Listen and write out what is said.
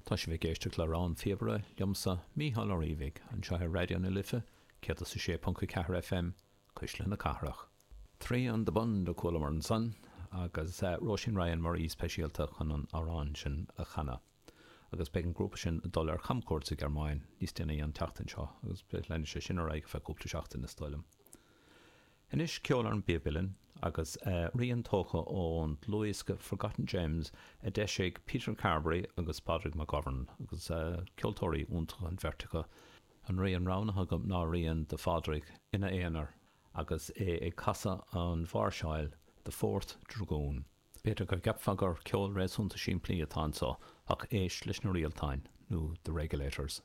Tá sibh ag éisteacht le Rogha an Phíobaire liomsa, Mícheál Ó Riabhaigh, anseo ar Raidió na Life 106.4 FM, Cuisle na Cathrach. Three on the Bund a chualamar ansan, agus Róisín Ryan mar aoi speisialta chun an amhrán sin a chanadh. Agus beidh an grúpa sin ag dul ar chamchuairt sa Ghearmáin níos déanaí an tseachtain seo, agus leanfaidh sé sin ar aghaidh ar feadh cúpla seachtain is dóigh liom. Anois ceol ar an bpíob uilleann agus rian tógtha ón dlúthdhiosca Forgotten Gems a d'eisigh Peter Carberry agus Pádraig McGovern agus ceoltóirí iontacha an bheirt acu. An rian roghnaithe agam ná rian de Phádraig ina aonar agus é ag casadh an mháirseáil The Fourth Dragoon. B'fhéidir go gceapfá gur ceol réasúnta simplí atá anseo ach éist leis na rialtáin, nó the regulators.